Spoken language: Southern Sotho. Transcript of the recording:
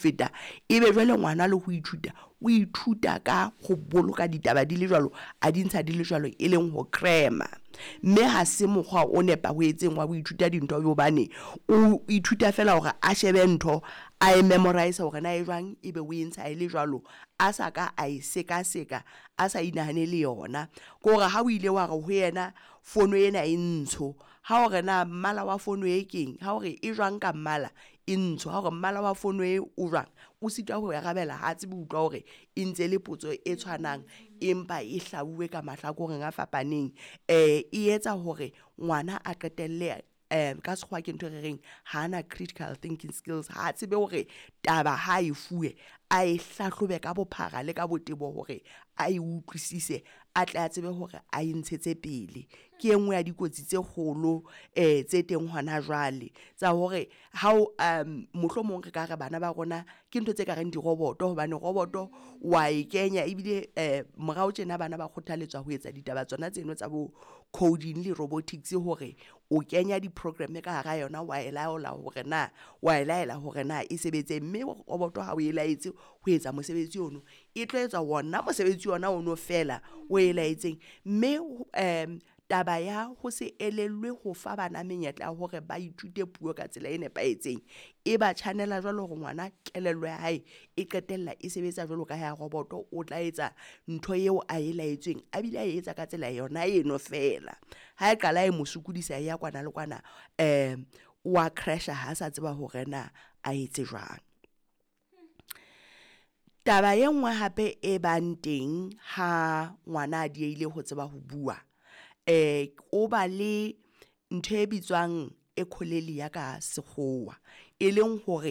Feta ebe jwale ngwana le ho ithuta, o ithuta ka ho boloka ditaba di le jwalo, a di ntsha di le jwalo, e leng ho cram-a. Mme ha se mokgwa o nepahetseng wa ho ithuta dintho hobane o ithuta feela hore a shebe ntho a e memorize hore na e jwang, ebe o e ntsha e le jwalo a sa ka a e sekaseka, a sa inahanele yona. Ke hore ha o ile wa re ho yena fono ena e ntsho, ha o re na mmala wa fono e keng, ha o re e jwang ka mmala, e ntsho, ha o re mmala wa fono e o jwang, o sitwa ho arabela ha tsebe ho utlwa hore e ntse le potso e tshwanang empa e hlauwe ka mahlakoreng a fapaneng. E etsa hore ngwana a qetelle ka sekgowa ke ntho e re reng hana critical thinking skills, ha tsebe hore taba ha e fuwe a e hlahlobe ka bophara le ka botebo hore a e utlwisise a tle a tsebe hore a e ntshetse pele. Ke e nngwe ya dikotsi tse kgolo tse teng hona jwale tsa hore ha o mohlomong re ka re bana ba rona ke ntho tse kareng diroboto hobane roboto wa e kenya ebile morao tjena bana ba kgothaletswa ho etsa ditaba tsona tseno tsa bo coding le robotics hore o kenya di-program ka hara yona wa e laola hore na wa e laela hore na e sebetse, mme roboto ha o e laetse ho etsa mosebetsi ono, e tlo etsa ona mosebetsi ona ono feela o e laetseng. Mme taba ya ho se elellwe ho fa bana menyetla ya hore ba ithute puo ka tsela e nepahetseng, e ba tjhanela jwalo hore ngwana kelello ya hae e qetella e sebetsa jwalo ka ya roboto, o tla etsa ntho eo a e laetsweng a bile a etsa ka tsela yona eno feela. Ha e qala e mo sokodisa e ya kwana le kwana wa crash-a ha sa tseba hore na a etse jwang. Taba e nngwe hape e bang teng ha ngwana a diehile ho tseba ho bua, o ba le ntho e bitswang ka sekgowa, e leng hore.